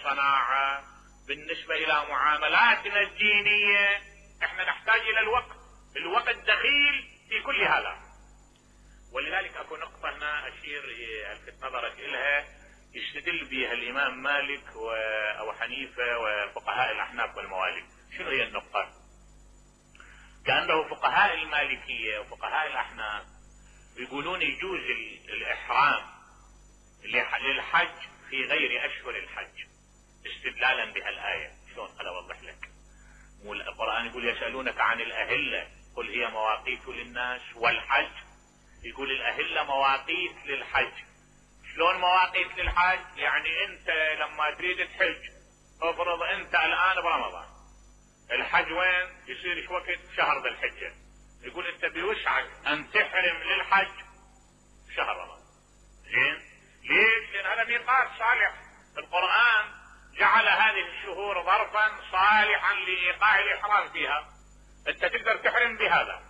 الصناعة، بالنسبة الى معاملاتنا الدينية، احنا نحتاج الى الوقت دخيل في كل هذا. ولذلك اكو نقطة هنا اشير الفت نظرك الها، يستدل بها الامام مالك وابو حنيفة وفقهاء الاحناف والموالك. شنو هي النقطة؟ كأنه فقهاء المالكية وفقهاء الاحناف يقولون يجوز الاحرام للحج في غير اشهر الحج، استدلالا بها الآية. شلون؟ خل اوضح لك. القرآن يقول يسألونك عن الأهلة قل هي مواقيت للناس والحج، يقول الأهلة مواقيت للحج. شلون مواقيت للحج؟ يعني انت لما تريد تحج، افرض انت الان برمضان، الحج وين يصير؟ ايش وقت؟ شهر ذي الحجة. يقول انت بوسعك ان تحرم للحج شهر رمضان. زين؟ ليش؟ لان هذا ميقات صالح. القرآن جعل هذه الشهور ظرفا صالحا لايقاع الاحرام فيها. انت تقدر تحرم بهذا،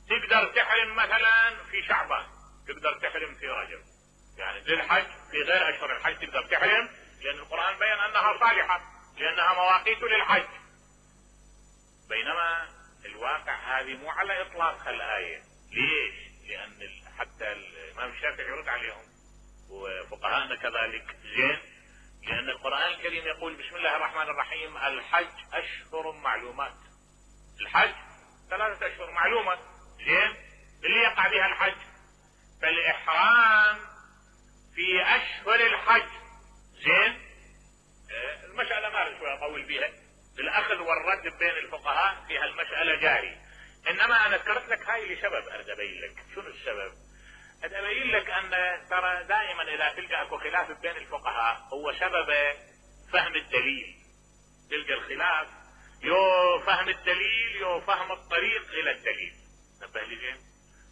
تقدر تحرم مثلا في شعبان، تقدر تحرم في رجب، يعني للحج في غير اشهر الحج تقدر تحرم، لان القرآن بين انها صالحة لانها مواقيت للحج. بينما الواقع هذه مو على اطلاق الآية. ليش؟ لان حتى الامام الشافعي يرد عليهم وفقهاءنا كذلك. زين؟ لان القرآن الكريم يقول بسم الله الرحمن الرحيم الحج اشهر معلومات. الحج 3 اشهر معلومة. زين؟ اللي يقع بها الحج، فالاحرام في اشهر الحج. زين؟ المسألة ما اريد شوية اطول بيها، الاخذ والرد بين الفقهاء في هالمسألة جاري. انما انا ذكرت لك هاي لسبب، اريد ابين لك شنو السبب. اريد ابين لك ان ترى دائما اذا تلقى اكو خلاف بين الفقهاء هو سبب فهم الدليل. تلقى الخلاف يو فهم الدليل يو فهم الطريق الى الدليل. نبه لي زين؟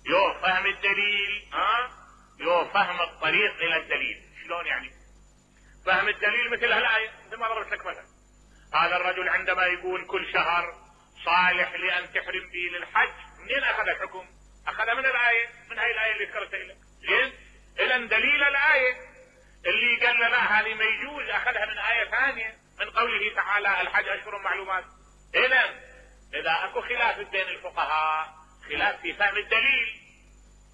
يو فهم الدليل يو فهم الطريق الى الدليل. شلون يعني؟ فهم الدليل مثل هالآية مثل ما ضربت لك مثلا. هذا الرجل عندما يقول كل شهر صالح لأن تحرم به للحج، منين أخذ الحكم؟ أخذ من الآية، من هاي الآية اللي ذكرتها لك. زين؟ إذن دليل الآية اللي قال لا هذه ما يجوز أخذها من آية ثانية من قوله تعالى الحج أشهر معلومات. إذن إذا أكو خلاف بين الفقهاء، خلاف في فهم الدليل،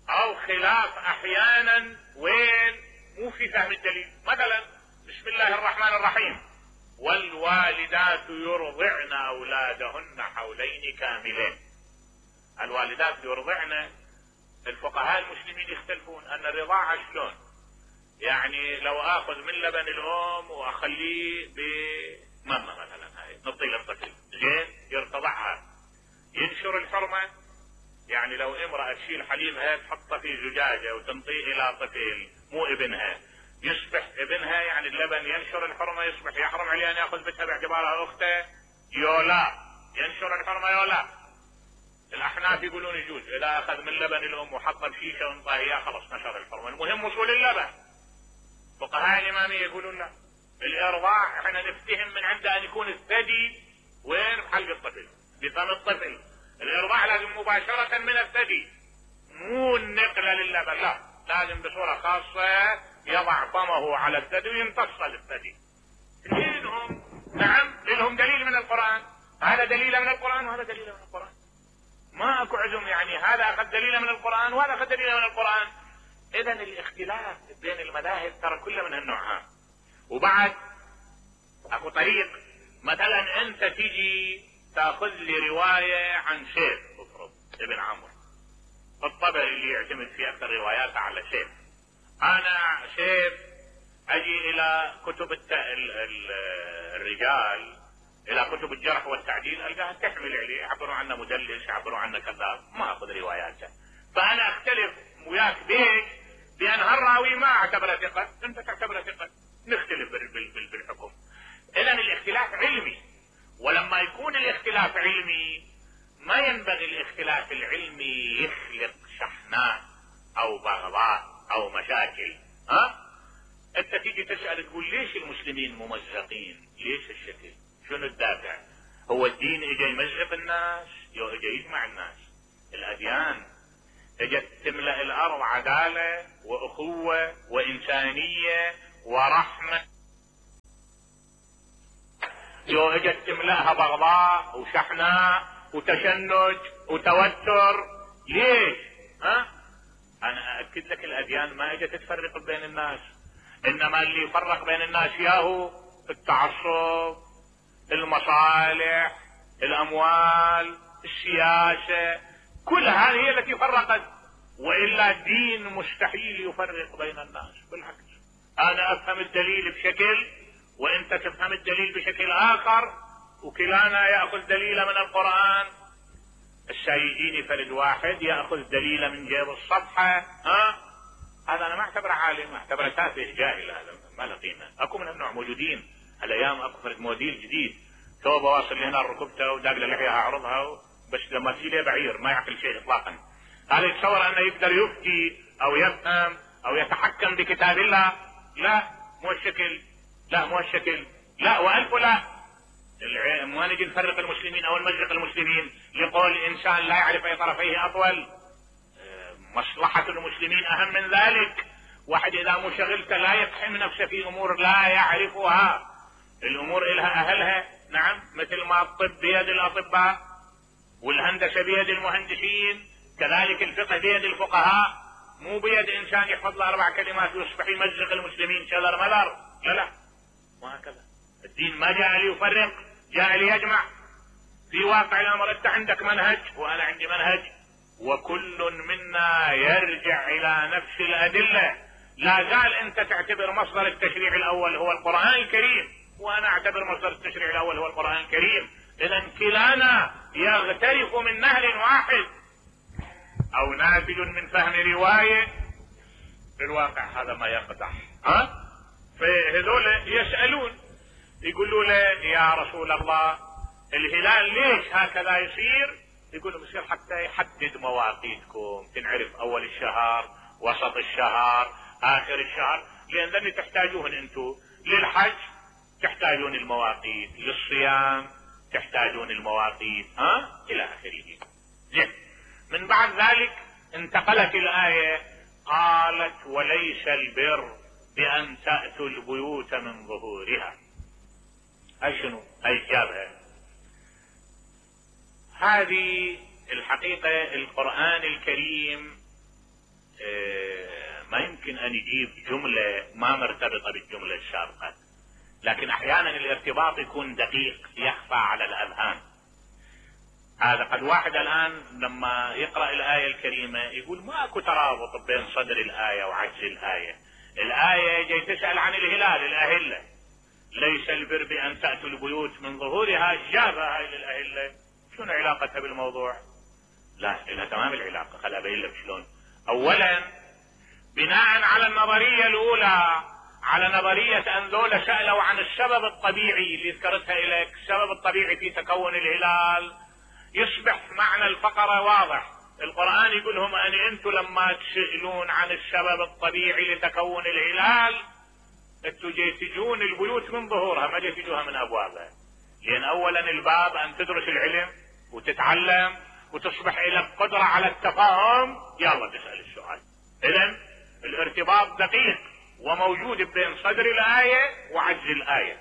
أو خلاف أحيانا وين مو في فهم الدليل. مثلا بسم الله الرحمن الرحيم والوالدات يرضعن أولادهن حولين كاملين. الوالدات يرضعن، الفقهاء المسلمين يختلفون ان الرضاعة شلون. يعني لو اخذ من لبن الام واخليه بماما مثلا، هاي نعطيه للطفل، زين؟ يرتضعها، ينشر الحرمة. يعني لو امرأة تشيل حليبها تحطه في زجاجة وتنطيه الى طفل مو ابنها، يصبح ابنها، يعني اللبن ينشر الحرمة، يصبح يحرم عليه ان ياخذ بنتها باعتبارها اخته يولا، ينشر الحرمة يولا. الاحناف يقولون يجوز اذا اخذ من لبن الام وحطه بشيشه وانطاه اياه خلص نشر الحرمة، المهم وصول اللبن. فقهاء الامامية يقولون لا، الارضاع احنا نفتهم من عنده ان يكون الثدي وين؟ بحلق الطفل، بفم الطفل. الارضاع لازم مباشرة من الثدي، مو النقلة للبن، لا، لازم بصورة خاصة يضع فمه على الثدي ويمتص الثدي. لهم نعم، لهم دليل من القرآن، هذا دليل من القرآن وهذا دليل من القرآن، ما اكو عزم. يعني هذا اخذ دليل من القرآن وهذا اخذ دليل من القرآن. اذا الاختلاف بين المذاهب ترى كله من هالنوع. وبعد اكو طريق، مثلا انت تيجي تاخذ لي رواية عن شيخ، افرض ابن عمرو الطبري اللي يعتمد في اكثر رواياته على شيخ. انا شيخ اجي الى كتب الرجال، الى كتب الجرح والتعديل، القاها تحمل عليه، يعبروا عنه مدلس، يعبروا عنه كذاب، ما اخذ رواياته. فانا اختلف وياك بيش بان هالراوي ما اعتبره ثقة، انت تعتبره ثقة، نختلف بالحكم. اذا الاختلاف علمي، ولما يكون الاختلاف علمي ما ينبغي الاختلاف العلمي يخلق شحناء او بغضاء او مشاكل. انت تيجي تسأل تقول ليش المسلمين ممزقين؟ ليش الشكل؟ شنو الدافع؟ هو الدين اجى يمزق الناس؟ اجى يجمع الناس. الاديان اجت تملأ الارض عدالة واخوة وانسانية ورحمة. جو اجت تملأها بغضاء وشحناء وتشنج وتوتر. ليش؟ انا اكد لك الاديان ما اجت تفرق بين الناس، انما اللي يفرق بين الناس ياهو التعصب، المصالح، الاموال، السياسة، كل هذه هي التي فرقت، والا الدين مستحيل يفرق بين الناس. بالعكس انا افهم الدليل بشكل وانت تفهم الدليل بشكل اخر، وكلانا ياخذ دليله من القرآن. السيديني فرد واحد ياخذ دليله من جيب الصفحة، هذا انا ما اعتبره عالم، اعتبره تافه جاهل، هذا ما له قيمه. اكو من هالنوع موجودين هالايام، اكو فرد موديل جديد توبه واصل لهنا ركبته وداق له لحيها عرضها، بس لما تجي بعير ما يعقل شيء اطلاقا. هذا يتصور انه يقدر يفتي او يفهم او يتحكم بكتاب الله. لا مو الشكل، لا مو الشكل، لا والف لا. ما نجي نفرق المسلمين او نمزق المسلمين لقول الانسان لا يعرف اي طرفيه اطول. مصلحة المسلمين اهم من ذلك. واحد اذا مشغلته لا يقحم نفسه في امور لا يعرفها. الامور الها اهلها، نعم، مثل ما الطب بيد الاطباء والهندسة بيد المهندسين، كذلك الفقه بيد الفقهاء، مو بيد انسان يحفظ له 4 كلمات ويصبح يمزق المسلمين شلر ملر. لا وهكذا الدين ما جاء ليفرق، جاء ليجمع. في واقع الامر انت عندك منهج وانا عندي منهج، وكل منا يرجع الى نفس الادلة. لا زال انت تعتبر مصدر التشريع الاول هو القرآن الكريم، وانا اعتبر مصدر التشريع الاول هو القرآن الكريم. اذا كلانا يغترف من نهر واحد او نافذ من فهم رواية. في الواقع هذا ما يقدح. فهذول يسألون يقولوا له يا رسول الله الهلال ليش هكذا يصير؟ يقول لهم يصير حتى يحدد مواقيتكم، تنعرف اول الشهر، وسط الشهر، اخر الشهر، لان تحتاجون انتم للحج تحتاجون المواقيت، للصيام تحتاجون المواقيت، الى اخره. زين، من بعد ذلك انتقلت الآية قالت وليس البر بأن تأتوا البيوت من ظهورها. أي شنو؟ أي جابها. هذه الحقيقة القرآن الكريم ما يمكن أن يجيب جملة ما مرتبطة بالجملة السابقة، لكن أحيانا الارتباط يكون دقيق يخفى على الأذهان. هذا قد واحد الآن لما يقرأ الآية الكريمة يقول ماكو ترابط بين صدر الآية وعجز الآية. الآية جاي تسأل عن الهلال، الأهلة، ليس البر بأن تأتوا البيوت من ظهورها، جابها هاي للأهلة، شنو علاقتها بالموضوع؟ لا، لها تمام العلاقة. خل أبين لك شلون. أولا بناء على النظرية الأولى، على نظرية أن ذولا سألوا عن السبب الطبيعي اللي ذكرتها إليك، السبب الطبيعي في تكون الهلال، يصبح معنى الفقرة واضح. القرآن يقول لهم أن أنتم لما تسألون عن السبب الطبيعي لتكون الهلال أنتم تجون البيوت من ظهورها، ما تجوها من أبوابها. لأن أولا الباب أن تدرس العلم وتتعلم وتصبح لك قدرة على التفاهم، يلا تسأل السؤال. إذن الارتباط دقيق وموجود بين صدر الآية وعجز الآية.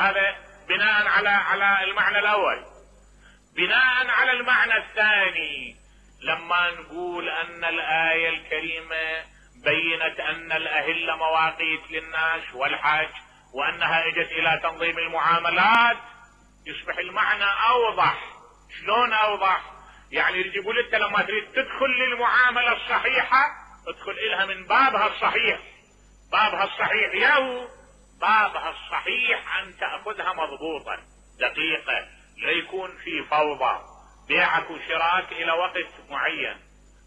هذا بناء على المعنى الأول. بناء على المعنى الثاني، لما نقول أن الآية الكريمة بينت أن الأهلة مواقيت للناس والحج، وأنها اجت إلى تنظيم المعاملات، يصبح المعنى أوضح. شلون أوضح؟ يعني يقول أنت لما تريد تدخل للمعاملة الصحيحة ادخل إلها من بابها الصحيح. بابها الصحيح ياهو بابها الصحيح أن تأخذها مضبوطا دقيقة، لا يكون في فوضى. بيعك وشراك إلى وقت معين،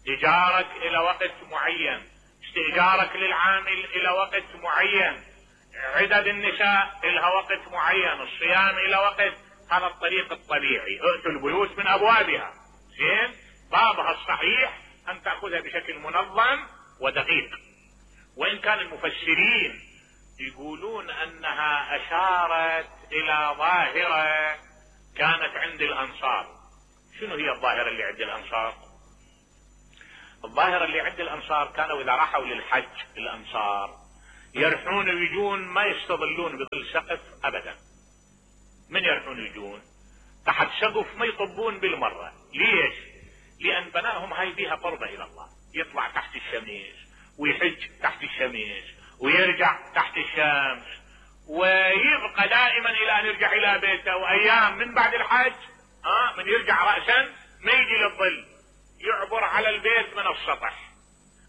إيجارك إلى وقت معين، استئجارك للعامل إلى وقت معين، عدد النساء إلها وقت معين، الصيام إلى وقت. هذا الطريق الطبيعي، ائتوا البيوت من أبوابها. زين، بابها الصحيح أن تأخذها بشكل منظم ودقيق. وإن كان المفسرين يقولون أنها أشارت إلى ظاهرة كانت عند الأنصار. شنو هي الظاهرة اللي عند الأنصار؟ الظاهرة اللي عند الأنصار كانوا إذا راحوا للحج الأنصار يرحون ويجون ما يستظلون بظل سقف أبدا، من يروحون يجون تحت سقف ما يطبون بالمرة. ليش؟ لان بنائهم هاي بيها قربة الى الله، يطلع تحت الشمس ويحج تحت الشمس ويرجع تحت الشمس، ويبقى دائما الى ان يرجع الى بيته، وايام من بعد الحج من يرجع رأسا ما يجي للظل، يعبر على البيت من السطح،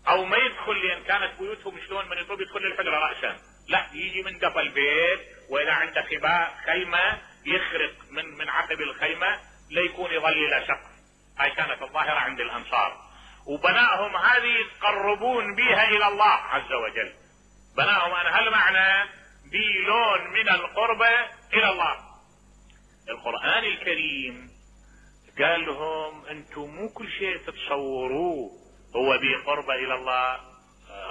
او ما يدخل، لان كانت بيوتهم شلون من يطلب يدخل للحجرة رأسا، لا يجي من قفا البيت، واذا عنده خباء خيمة يخرق من عقب الخيمة ليكون يظل الى سقف. هاي كانت الظاهرة عند الانصار، وبنائهم هذه يتقربون بها الى الله عز وجل. بنائهم انا هالمعنى بلون من القربة الى الله. القرآن الكريم قال لهم انتم مو كل شيء تتصوروه هو بقربة الى الله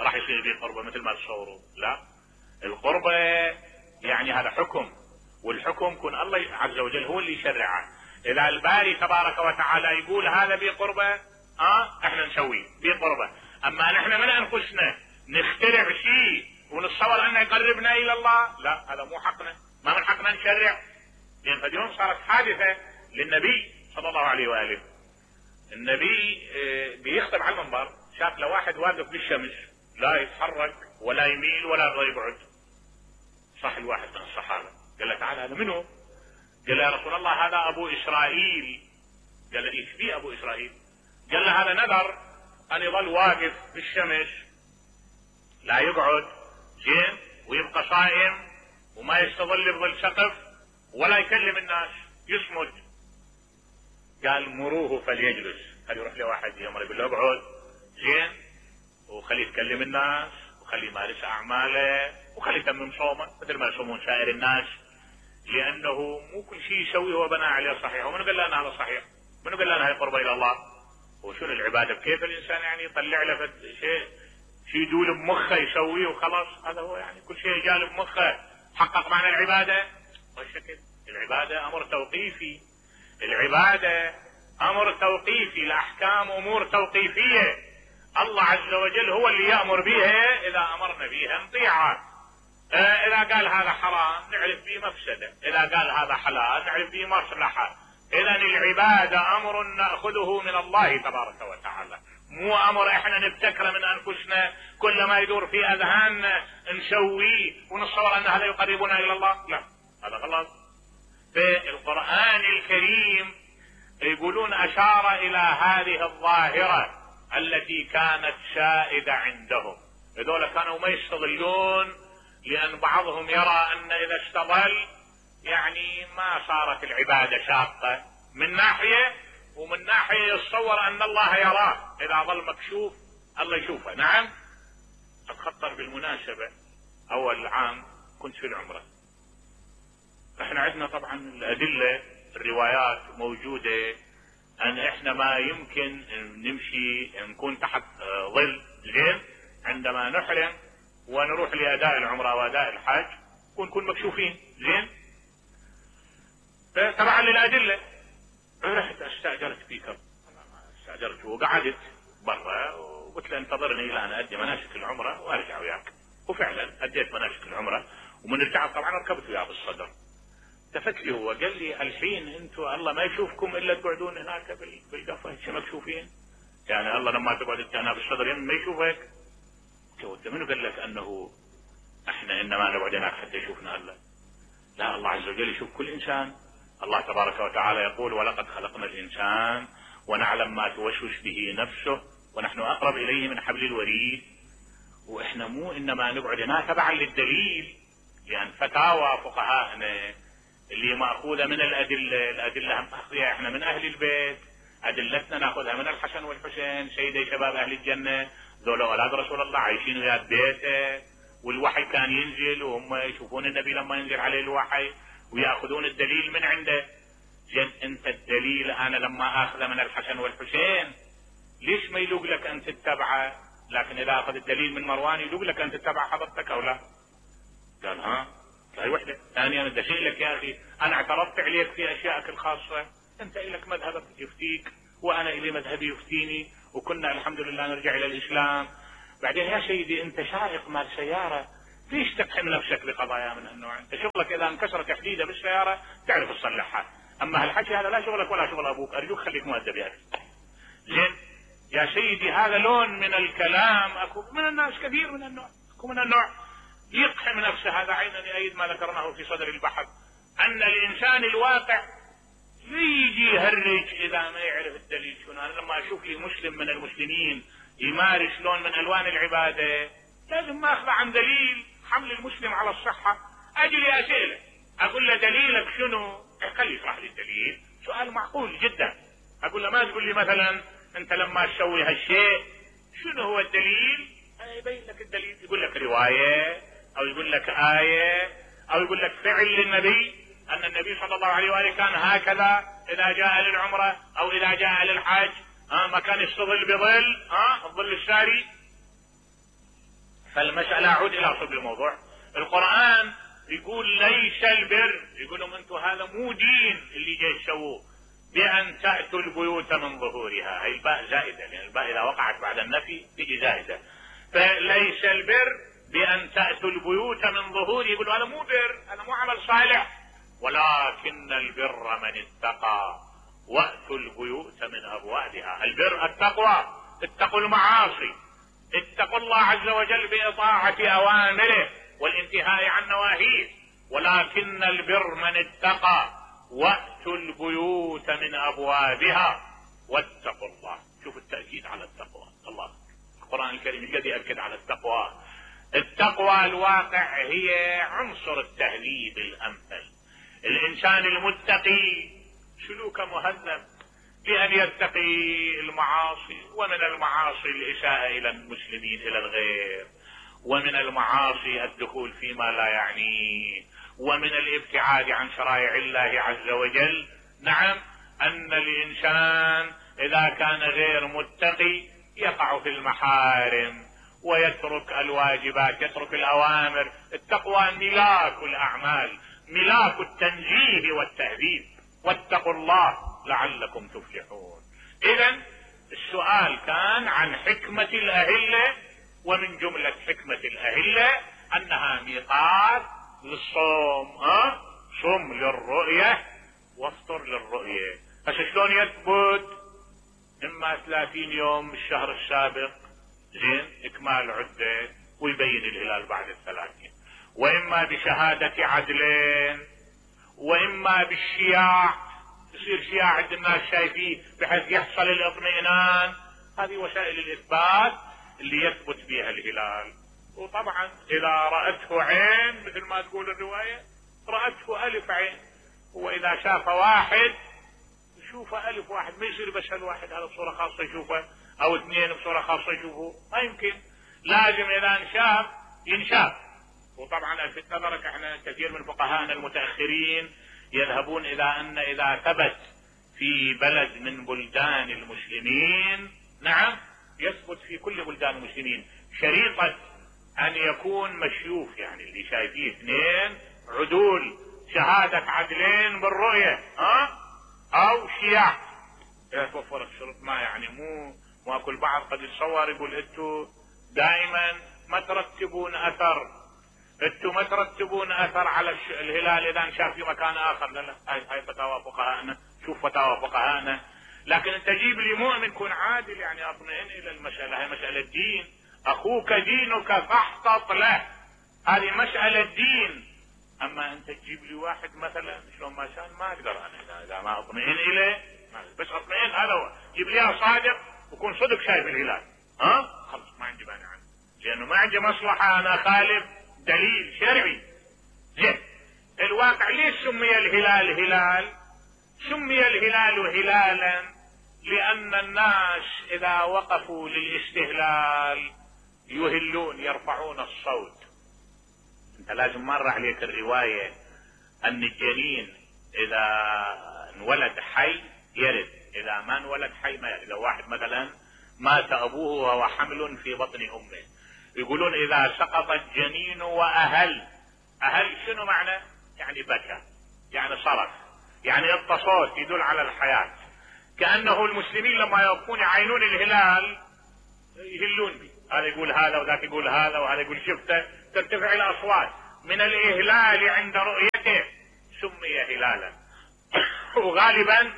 راح يصير بقربة مثل ما تصوروا، لا. القربة يعني هذا حكم، والحكم كن الله عز وجل هو اللي يشرعه. اذا الباري تبارك وتعالى يقول هذا بقربة احنا نسويه بقربة، اما نحن من انفسنا نخترع شيء ونتصور انه يقربنا الى الله، لا، هذا مو حقنا، ما من حقنا نشرع. لان قد يوم صارت حادثة للنبي صلى الله عليه وآله، النبي بيخطب على المنبر، شاف له واحد واقف بالشمس لا يتحرك ولا يميل ولا يبعد. صح الواحد من الصحابة قال له تعال هذا منه؟ قال له يا رسول الله هذا ابو اسرائيل. قال له ايش فيه ابو اسرائيل؟ قال له هذا نذر ان يظل واقف بالشمس لا يقعد زين ويبقى صائم وما يستظل بظل سقف ولا يكلم الناس، يصمد. قال مروه فليجلس، خلي يروح له واحد يمر يقول له اقعد زين وخليه يتكلم الناس وخليه يمارس اعماله وخليه يتمم صومه مثل ما يصومون سائر الناس، لانه مو كل شيء يسويه هو بناء عليه صحيح. ومن قال لنا هذا صحيح؟ من قال لنا هاي قربة الى الله؟ وشنو العبادة؟ كيف الانسان يعني يطلع له شيء يدول بمخه يسويه وخلاص؟ هذا هو يعني كل شيء جال بمخه حقق معنى العبادة؟ والشكل العبادة امر توقيفي، العبادة امر توقيفي، الاحكام امور توقيفية، الله عز وجل هو اللي يأمر بها اذا امرنا بها نطيعه. اذا قال هذا حرام نعرف به مفسدة، اذا قال هذا حلال نعرف به مصلحة. اذا العبادة امر نأخذه من الله تبارك وتعالى، مو امر احنا نبتكره من انفسنا كل ما يدور في اذهاننا نسويه ونتصور ان هذا يقربنا الى الله، لا، هذا غلط. في القرآن الكريم يقولون اشار الى هذه الظاهرة التي كانت سائدة عندهم. هذول كانوا ما يستظلون، لان بعضهم يرى ان اذا استظل يعني ما صارت العبادة شاقة من ناحية، ومن ناحية يتصور ان الله يراه، اذا ظل مكشوف الله يشوفه. نعم، اتخطر بالمناسبة اول عام كنت في العمرة، احنا عندنا طبعا الادلة الروايات موجودة ان احنا ما يمكن نمشي نكون تحت ظل زين عندما نحرم ونروح لاداء العمرة واداء الحج ونكون مكشوفين زين. تبعا للادلة رحت استاجرت بيكر، استاجرت وقعدت برا وقلت له انتظرني الى ان ادي مناسك العمرة وارجع وياك. وفعلا اديت مناسك العمرة، ومن رجعت طبعا ركبت وياه بالصدر. التفت لي هو قال لي الحين انتم الله ما يشوفكم الا تقعدون هناك بالقفة مكشوفين، يعني الله لما تقعد انت هنا بالصدر ما يشوفك. قلت منو قال لك انه احنا انما نقعد هناك حتى يشوفنا الله؟ لا، الله عز وجل يشوف كل انسان. الله تبارك وتعالى يقول ولقد خلقنا الانسان ونعلم ما توسوس به نفسه ونحن اقرب اليه من حبل الوريد. واحنا مو انما نقعد هناك تبعا للدليل، لان فتاوى فقهائنا اللي ماخوذه من الادله ماخذها احنا من اهل البيت، ادلتنا ناخذها من الحسن والحسين سيدي شباب اهل الجنه، ذولا اولاد رسول الله عايشين ويا بيته، والوحي كان ينزل وهم يشوفون النبي لما ينزل عليه الوحي وياخذون الدليل من عنده. زين انت الدليل انا لما اخذه من الحسن والحسين ليش ما يلوق لك ان تتبعه؟ لكن اذا اخذ الدليل من مروان يلوق لك ان تتبع حضرتك او لا؟ قال ها، هاي وحده. ثانيا ادشي لك يا اخي انا اعترضت عليك في اشيائك الخاصه، انت لك مذهبك يفتيك وانا الي مذهبي يفتيني، وكنا الحمد لله نرجع الى الاسلام. بعدين يا سيدي انت سائق مال سياره، ليش تقحم نفسك بقضايا من هالنوع؟ انت شغلك اذا انكسرت حديده بالسياره تعرف تصلحها. اما هالحكي هذا لا شغلك ولا شغل ابوك، ارجوك خليك مؤدب يا اخي. زين يا سيدي، هذا لون من الكلام. اكو من الناس كثير من النوع، اكو من النوع يقحم نفسه. هذا عينا يؤيد ما ذكرناه في صدر البحث، ان الانسان الواقع يجي يهرج اذا ما يعرف الدليل شنو. انا لما اشوف لي مسلم من المسلمين يمارس لون من الوان العباده لازم ما اخذ عن دليل حمل المسلم على الصحه، اجي لي اسئله اقول له دليلك شنو؟ خلي يشرح لي الدليل. سؤال معقول جدا. اقول له ما تقول لي مثلا انت لما تسوي هالشيء شنو هو الدليل؟ يبين لك الدليل، يقول لك روايه او يقول لك ايه او يقول لك فعل للنبي، ان النبي صلى الله عليه واله كان هكذا اذا جاء للعمره او اذا جاء للحج، ما كان يستظل بظل الظل الساري. فالمسألة اعود الى صلب الموضوع. القرآن يقول ليس البر، يقول لهم انتم هذا مو دين اللي جاي تسووه، بان تأتوا البيوت من ظهورها. هي الباء زائدة، لان الباء اذا وقعت بعد النفي تجي زائدة. فليس البر بان تأتوا البيوت من ظهور، يقول هذا مو بر، هذا مو عمل صالح، ولكن البر من اتقى واتوا البيوت من ابوابها. البر التقوى، اتقوا المعاصي، اتقوا الله عز وجل بإطاعة اوامره والانتهاء عن نواهيه، ولكن البر من اتقى واتوا البيوت من ابوابها واتقوا الله. شوف التأكيد على التقوى. الله القرآن الكريم قد يأكد على التقوى. التقوى الواقع هي عنصر التهذيب الامثل. الانسان المتقي سلوك مهذب بأن يتقي المعاصي، ومن المعاصي الإساءة إلى المسلمين إلى الغير، ومن المعاصي الدخول فيما لا يعنيه، ومن الابتعاد عن شرائع الله عز وجل. نعم، أن الإنسان إذا كان غير متقي يقع في المحارم ويترك الواجبات، يترك الأوامر. التقوى ملاك الأعمال، ملاك التنزيه والتهذيب. واتقوا الله لعلكم تفلحون. إذن السؤال كان عن حكمة الأهلة، ومن جملة حكمة الأهلة أنها ميقات للصوم. صم للرؤية وافطر للرؤية. هسه شلون يثبت؟ إما 30 يوم الشهر السابق، زين، إكمال عدة ويبين الهلال بعد 30، وإما بشهادة عدلين، وإما بالشياع، يصير شياع عند الناس شايفيه بحيث يحصل الاطمئنان. هذه وسائل الإثبات اللي يثبت بها الهلال. وطبعا إذا رأته عين مثل ما تقول الرواية، رأته ألف عين. هو إذا شاف واحد يشوفه ألف واحد، ما يصير بس الواحد هذا بصورة خاصة يشوفه، أو اثنين بصورة خاصة يشوفه، ما يمكن. لازم إذا انشاف ينشاف. وطبعا الفت نظرك احنا كثير من فقهاءنا المتأخرين يذهبون إذا ثبت في بلد من بلدان المسلمين، نعم، يثبت في كل بلدان المسلمين شريطة أن يكون مشيوف، يعني اللي شايفيه اثنين عدول، شهادة عدلين بالرؤية، أو شياع. إذا توفرت شروط ما يعني مو أكل بعض قد يتصور يقول انتوا دائما ما ترتبون أثر على الهلال إذا انشاف في مكان آخر. لا، هاي فتاوى فقهاءنا. شوف فتاوى فقهاءنا. لكن انت جيب لي مؤمن يكون عادل، يعني اطمئن الى المسألة. هاي مسألة دين. اخوك دينك فاحتط له، هذه مسألة دين. اما انت تجيب لي واحد مثلا شلون ما كان، ما اقدر انا اذا ما اطمئن اليه، بس اطمئن هذا هو. جيب لي صادق وكون صدق شايف الهلال، خلص ما عندي مانع عنه، لانه ما عندي مصلحة انا خالف دليل شرعي. زين، الواقع ليش سمي الهلال هلال؟ سمي الهلال هلالا لأن الناس إذا وقفوا للاستهلال يهلون، يرفعون الصوت. انت لازم مر عليك الرواية أن الجنين إذا انولد حي يرد، إذا ما انولد حي ما يرد. لو واحد مثلا مات أبوه وهو حمل في بطن أمه، يقولون إذا سقط الجنين وأهل. أهل شنو معنى؟ يعني بكى، يعني صرخ، يعني الصوت يدل على الحياة. كأنه المسلمين لما يوقفون يعينون الهلال يهلون به، هذا يقول هذا وذاك يقول هذا وهذا يقول شفته، ترتفع الأصوات من الإهلال عند رؤيته هلالا وغالبا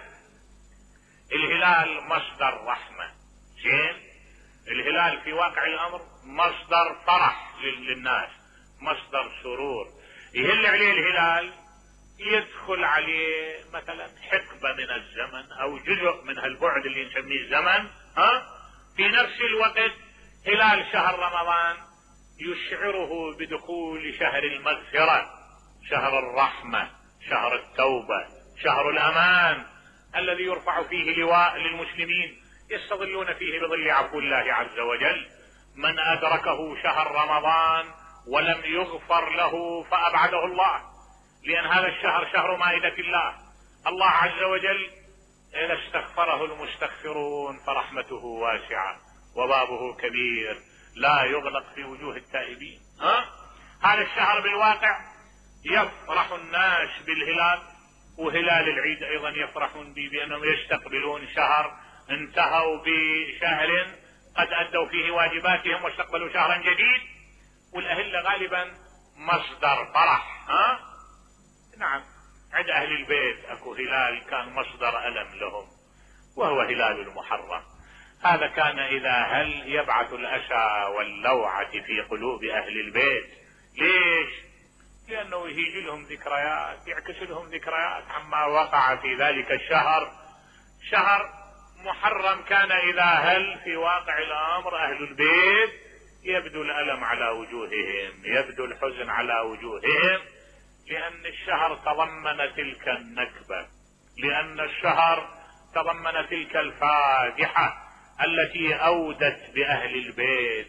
الهلال مصدر رحمة. زين، الهلال في واقع الامر مصدر فرح للناس، مصدر سرور. يهل عليه الهلال يدخل عليه مثلا حقبة من الزمن او جزء من هالبعد اللي نسميه الزمن، في نفس الوقت هلال شهر رمضان يشعره بدخول شهر المغفرة، شهر الرحمة، شهر التوبة، شهر الامان، الذي يرفع فيه لواء للمسلمين يستظلون فيه بظل عفو الله عز وجل. من ادركه شهر رمضان ولم يغفر له فابعده الله، لان هذا الشهر شهر مائدة الله. الله عز وجل اذا استغفره المستغفرون فرحمته واسعة وبابه كبير لا يغلق في وجوه التائبين. هذا الشهر بالواقع يفرح الناس بالهلال، وهلال العيد ايضا يفرحون به بانهم يستقبلون شهر انتهوا بشهر قد ادوا فيه واجباتهم واستقبلوا شهرا جديد. والاهلة غالبا مصدر فرح. نعم، عند اهل البيت اكو هلال كان مصدر الم لهم وهو هلال المحرم. هذا كان اذا هل يبعث الاسى واللوعة في قلوب اهل البيت. ليش؟ لانه يهيج لهم ذكريات، يعكس لهم ذكريات عما وقع في ذلك الشهر. شهر محرم كان اذا هل في واقع الامر اهل البيت يبدو الالم على وجوههم، يبدو الحزن على وجوههم، لان الشهر تضمن تلك النكبة، لان الشهر تضمن تلك الفاجعة التي اودت باهل البيت